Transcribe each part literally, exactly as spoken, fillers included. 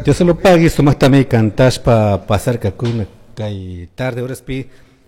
Dios lo pague, sumaktami kantashpa pasarkakuna kay tarde horaspi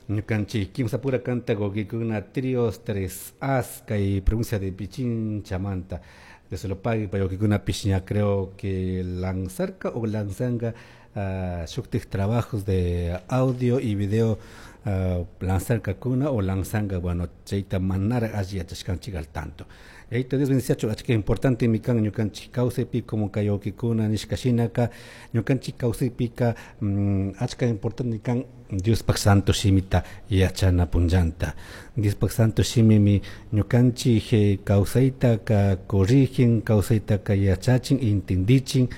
ñukanchik kimsapura kanta wawkikuna trios tres as kay provincia de Pichinchamanta. Dios lo pague, pay wawkikunapish ña creo que lanzarka o lanzanga uh, shuktik trabajos de audio y video uh, lanzarkakuna o lanzanga, bueno, chayta manara alli yachashkanchik al tanto. Yayita Dios bendiciachu, achka importante mi kan ñukanchik kawsaypi como kay wawkikuna nishka shinaka ñukanchik kawsaypika mm, achka importante kan Diospaj santo shimita yachana punllanta. Diospaj santo shimimi ñukanchik eh, kawsaytaka corrigen, kawsaytaka yachachin, intindichin,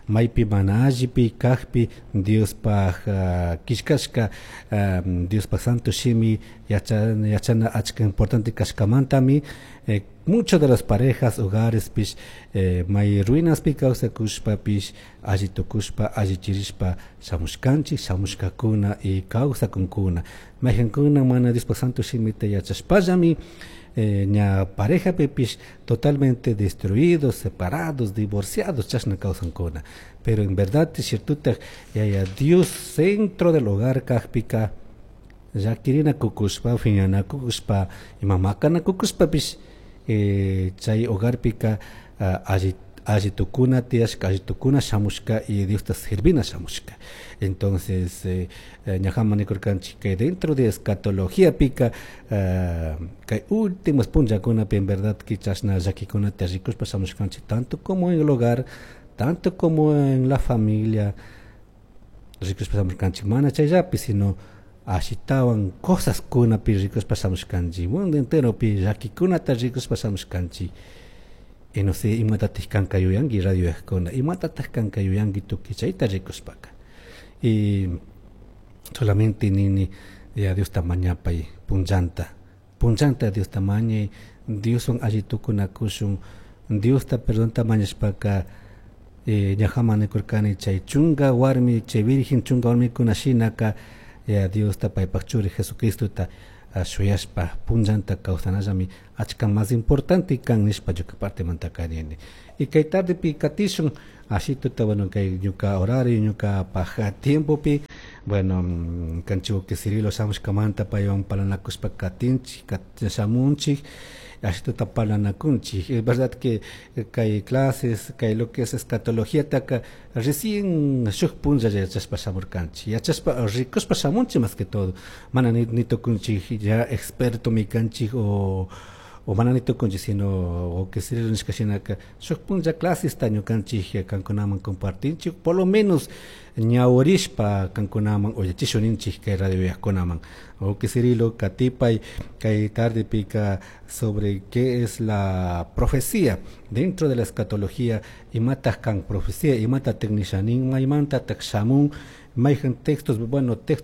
maypi mana allipi kajpi Diospaj uh, killkashka um, Diospaj santo shimi yachana, yachana achka importante kashkamantami eh, muchas de las parejas hogares pish eh, may ruinaspi kawsakushpapish alli tukushpa alli chirishpa shamushkanchik, shamushkakuna y kawsakunkuna. Mayjankuna mana Diospaj santo shimita yachashpallami eh, ña pareja pipish totalmente destruidos, separados, divorciados, chashna kawsankuna. Pero en verdad, cierto, yaya Dios centro del hogar kajpika llakirina kukushpa, phiñana kukushpa, ima makana kukushpapish eh, chay hogarpika uh, alli alli tukuna tiyashka, alli tukuna shamushka y Diosta servina shamushka. Entonces, eh, ñajaman nikurkanchik que dentro de escatología pika uh, kay últimos punllakunapi en verdad que chashna llakikunata rikushpa shamushkanchik tanto como en el hogar, tanto como en la familia, rikushpa shamushkanchik mana chayllapi, sino ashitawan cosas kunapi rikushpa shamushkanchik, mundo enteropi llakikunata rikushpa shamushkanchik. Y no sé, imatataj kanka yuyanki radio kuna, imatataj kanka yuyanki tukuy chayta rikushpaka. Y solamente nini ya Diosta mañapay punllanta, punllanta Diosta mañay, Dioswan alli tukunakushun, Diosta perdonta mañashpaka eh, ñajaman nikurkani chay chunka warmi, chay virgen chunka warmikuna shinaka ya Diosta paypak churi Jesucristota uh, shuyashpa punllanta kawsanallami achka más importante kan nishpa ñuka partemantaka nini. Y kay tardepi katishun ashituta, bueno, kay ñuka horario, ñuka paja tiempopi, bueno, kanchik que Cirilo shamushkamanta paywan parlanakushpa katinchik, shamunchik, ashituta parlanakunchik. Es verdad que kay clases, kay lo que es escatología taka recién shuk punlla yachashpa shamurkanchik, yachashpa rikushpa shamunchik más que todo, mana ni, ni tukunchik ya experto mi kanchik o o mana ni tukunchik, sino o que Cirilo nishka shinaka shuk punlla clasesta ñukanchik kankunaman compartinchik, por lo menos ñawrishpa kankunaman uyachishun ninchik kay radio yakunaman. O que Cirilo katipay kay tardepika sobre qué es la profecía dentro de la escatología, imataq kan profecía, imata nishanin, maymanta shamun, mayjan textos, bueno, textos.